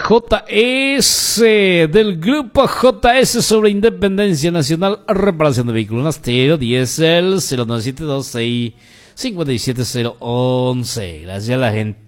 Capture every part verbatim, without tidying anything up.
J S del grupo J S sobre Independencia Nacional, reparación de vehículos Nastero, diésel, cero nueve siete dos seis cincuenta y siete cero once. Gracias a la gente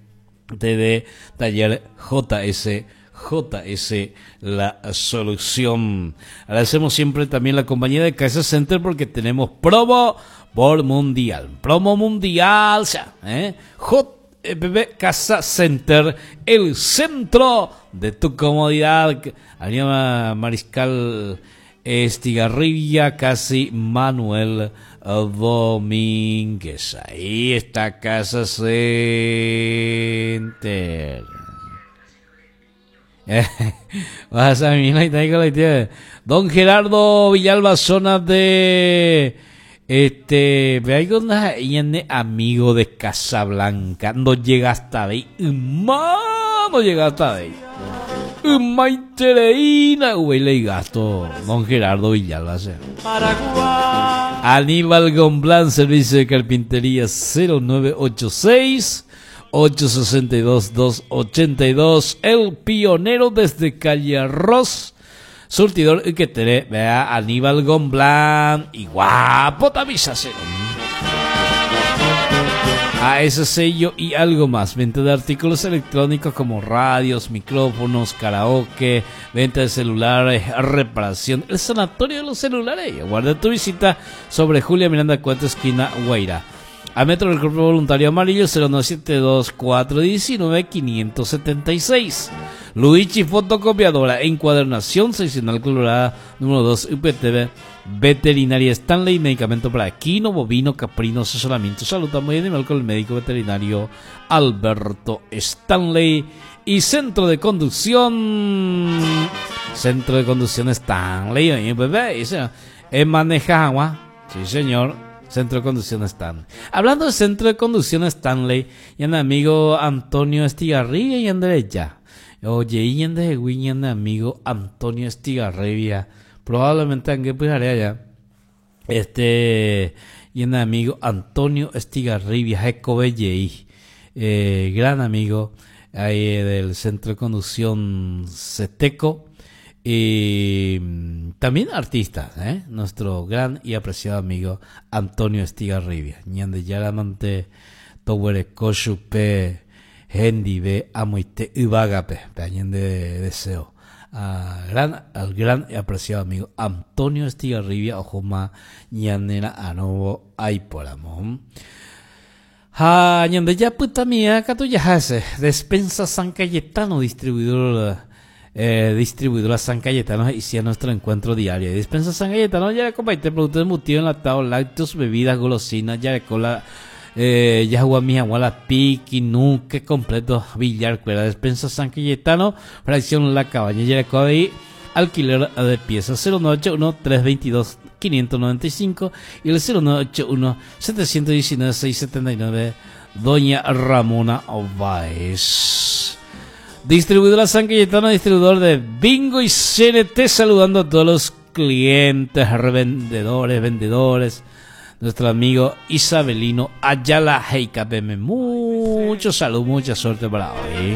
de Taller J S, J S La Solución. Agradecemos siempre también la compañía de Casa Center porque tenemos promo por mundial. Promo mundial, o sea, ¿eh? J B Casa Center, el centro de tu comodidad. Avenida Mariscal Estigarribia, casi Manuel Domínguez. Ahí está Casa Center. Vas a mí, Don Gerardo Villalba, zona de este, ve amigo de Casablanca, no llega hasta ahí, no llega hasta ahí. Maitereína, le gasto, don Gerardo Villalba. Aníbal Gomblán, servicio de carpintería cero nueve ocho seis, ocho sesenta y dos, dos ochenta y dos, el pionero desde calle Arroz, surtidor y que te vea Aníbal Gomblán y guapo también cero. A ese sello y algo más, venta de artículos electrónicos como radios, micrófonos, karaoke, venta de celulares, reparación, el sanatorio de los celulares. Guarda tu visita sobre Julia Miranda cuatro, esquina Guairá. A Metro del Cuerpo Voluntario Amarillo, cero nueve siete dos, cuatro diecinueve, quinientos setenta y seis. Luigi Fotocopiadora, encuadernación seccional colorada, número dos, U P T V, Veterinaria Stanley, medicamento para equino, bovino, caprino, asesoramiento, salud muy animal con el médico veterinario Alberto Stanley. Y Centro de Conducción, Centro de Conducción Stanley, bebé, es maneja agua, sí señor. Centro de Conducción Stanley. Hablando de Centro de Conducción Stanley, y el amigo Antonio Estigarribia y Andrés ya. Oye, y el amigo Antonio Estigarribia. Probablemente en qué allá. Este, y el amigo Antonio Estigarribia, Jecobellei, eh, gran amigo ahí del Centro de Conducción Ceteco. Y también artista, ¿eh? Nuestro gran y apreciado amigo Antonio Estigarribia. Ñande yaramante towere koshupe hendibe amoite ubagape. Peañende deseo. A gran, al gran y apreciado amigo Antonio Estigarribia, ojoma ñanera anobo aiporamón. Ja, ñande ya puta mía, catuyajase. Despensa San Cayetano, distribuidor. Eh, distribuidora San Cayetano, hicieron nuestro encuentro diario. Dispensa San Cayetano, ya comparte productos embutidos, enlatados, lácteos, bebidas, golosinas, ya cola, eh, ya mija, guala, piqui, nuque, completo, billar, cuera. Despensa San Cayetano, fracción La Cabaña, ya ahí, alquiler de piezas cero nueve ocho uno, tres veintidós, quinientos noventa y cinco y el cero nueve ocho uno, setecientos diecinueve, seiscientos setenta y nueve, Doña Ramona Báez. Distribuidora San Cayetano, distribuidor de Bingo y C N T, saludando a todos los clientes, revendedores, vendedores. Nuestro amigo Isabelino Ayala Heikapeme. Mucho salud, mucha suerte para hoy.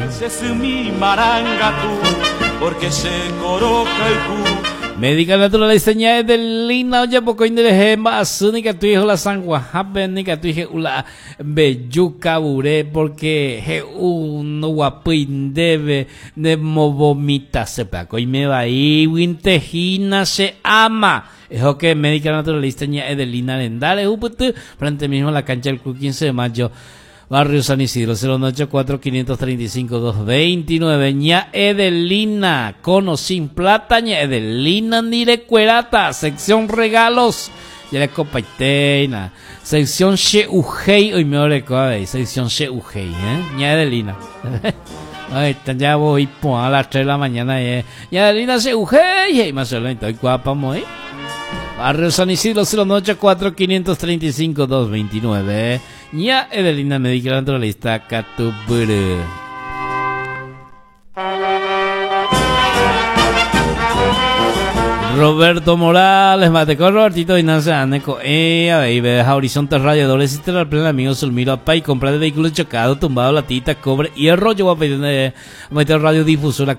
Médica naturalista Edelina, oye, poco indereje, más única tu hijo la sanguajape, nica tu hijo la belluca buré, porque je uno guapo indebe de movomita sepa, y me va ahí, wintejina se ama. Es que médica naturalista Edelina Lendale, uputu, frente mismo a la cancha del Club quince de mayo. Barrio San Isidro, cero nueve cuatro, quinientos treinta y cinco, dos veintinueve. Ña Edelina, con o sin plata, ña Edelina ni de cuerata. Sección regalos, ya la copa iteina. Sección Sheugei, hoy me ore sección Sheugei, ¿eh? Ña Edelina. Ahí está, ya voy a las tres de la mañana, eh. Ña Edelina Sheugei, y más o guapa, muy. Barrio San Isidro, cero nueve cuatro, quinientos treinta y cinco, dos veintinueve. Ña Edelina Médica Naturalista Catuburu. Roberto Morales, Mateco Robertito Ignacio Aneco, eh, a ver, Horizonte Radiadores, Estelar Plena, amigo Zulmiro Apay, compra de vehículos chocado, tumbado, latita, cobre, hierro, yo voy a pedir de meter radiodifusora